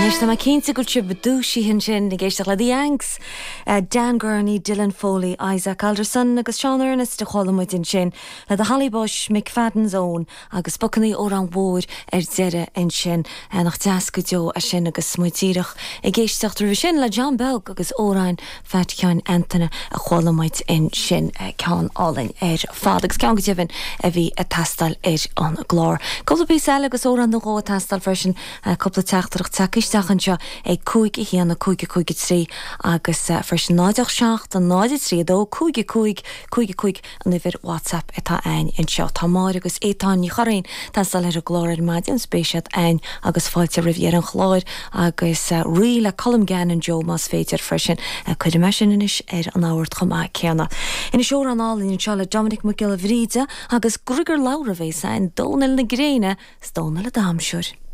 Anois tá mé cinnte go bhfuil sibh dúisithe ansin ag éisteacht le The Yanks, Dan Gurney, Dylan Foley, Isaac Alderson agus Seán Ernest a chuala muid ansin le The Holly Bush, McFadden's Own agus Bucana Amhráin Mhóir ar deireadh ansin. Nach deas go deo é sin agus muid díreach ag éisteacht roimhe sin le John Beag agus Amhrán Phat Sheáin Antaine a chuala muid ansin. Ceann álainn ar fad agus ceann go deimhin a bhí ag teastáil ar an gclár. Cúpla píosa eile agus amhrán nó dhó ag teastáil freisin. Cúpla teachtaireacht tagtha isteach anseo ag 5 1 5 5 3 agus freisin 0 8 7 0 3 2 5 5 5 5 an uimhir WhatsApp atá a'ainn anseo. Tá Máire agus Étáin Ní Churraoin ag teastáil ar an gclár ar maidin, is beidh siad a'ainn agus fáilte roimh dheireadh an chláir agus Rí le Colm Gannon Joe más féidir freisin. Cuirfidh mé sin anois ar an ord chomh maith céanna. Anois amhrán álainn anseo le Dominic Mac Giolla Bhríde agus Griogair Labhruidh a bheas a'ainn, Dónal na Gréine 's Dónal an Damhsóir.